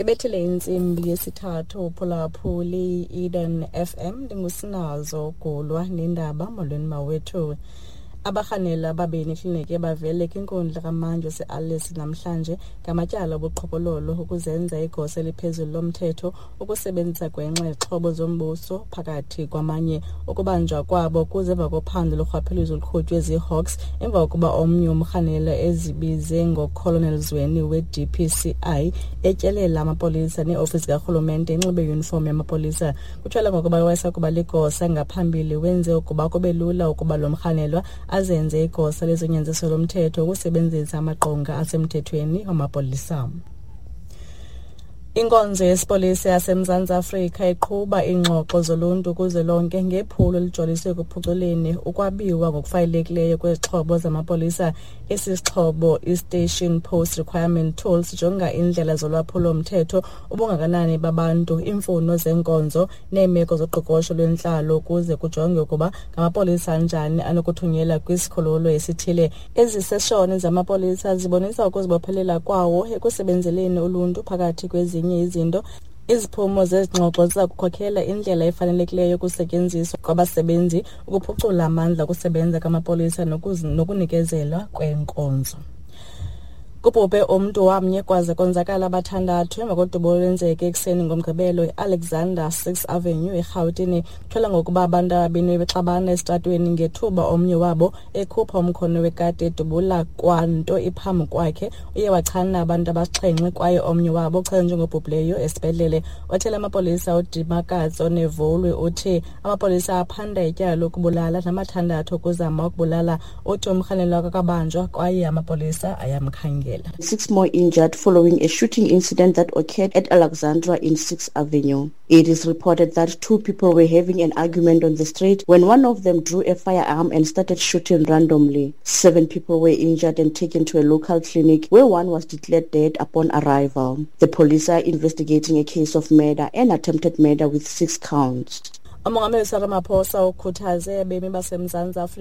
Ibethile intsimbi yesithathu uphulaphuli Eden FM. Ndingusinazo Gulwa nendaba. Molweni mawethu. Abarhanela ababini ekliniki bavele kwinkundla kamantyi waseAlice namhlanje ngamatyala obuqhophololo, ukuzenza igosa eliphezulu lomthetho, ukusebenzisa gwenxa izixhobo zombuso, phakathi kwamanye. Ukubanjwa kwabo kuze emva kophando lorhwaphilizo oluqhutywe ziiHawks emva kokuba omnye umrhanelwa ezibize ngoColonel Zweni we-DPCI etyelela amapolisa neeofisi zikarhulumente enxibe iyunifomu yamapolisa. Kutyholwa ngokuba wayesakuba ligosa ngaphambili wenze ukuba kube lula ukuba lo mrhanelwa azenze igosa lezonyanziso lomthetho ukusebenzisa amaqonga asemthethweni wamapolisa. Inkonzo yesipolisa yaseMzantsi Afrika iqhuba iingxoxo zoluntu kuzwelonke ngephulo elijoliswe ekuphuculeni ukwabiwa ngokufanelekileyo kwezixhobo zamapolisa. Esi sixhobo, i-Station Post Requirement Tool, sijonga iindlela zolwaphulo-mthetho, ubungakanani babantu, iimfuno zenkonzo neemeko zoqoqosho lwentlalo ukuze kujongwe ukuba ngamapolisa anjani anokuthunyelwa kwisikhululo esithile. Ezi seshoni zamapolisa zibonisa ukuzibophelela kwawo ekusebenzeleni uluntu phakathi kwezinye izinto. Iziphumo zezi ngxoxo ziza kukhokhela indlela efanelekileyo yokusetyenziswa kwabasebenzi, ukuphucula amandla okusebenza kwamapolisa nokunikezelwa kweenkonzo. Kubhubhe umntu wamnye kwaze konzakala abathandathu emva kodubo olwenzeke ekuseni ngoMgqibelo eAlexander 6 Avenue eRhawutini. Kutyholwa ngokuba abantu ababini bebexabana esitratweni ngethuba omnye wabo ekhupha umkhono wekati edubula kwanto iphambi kwakhe. Uye wachana abantu abasixhenxe kwaye omnye wabo uchazwe njengobhubhileyo esibhedlele. Othela amapolisa uDimakatso Nevolwe uthi amapolisa aphanda ityala lokubulala namathandathu okuzama ukubulala. Uthi umrhanelwa akakabanjwa kwaye amapolisa ayamkhangela. Six more injured following a shooting incident that occurred at Alexandra in 6th Avenue. It is reported that two people were having an argument on the street when one of them drew a firearm and started shooting randomly. Seven people were injured and taken to a local clinic where one was declared dead upon arrival. The police are investigating a case of murder and attempted murder with six counts. Umongameli Cyril Ramaphosa ukhuthaze abemi baseMzantsi Afrika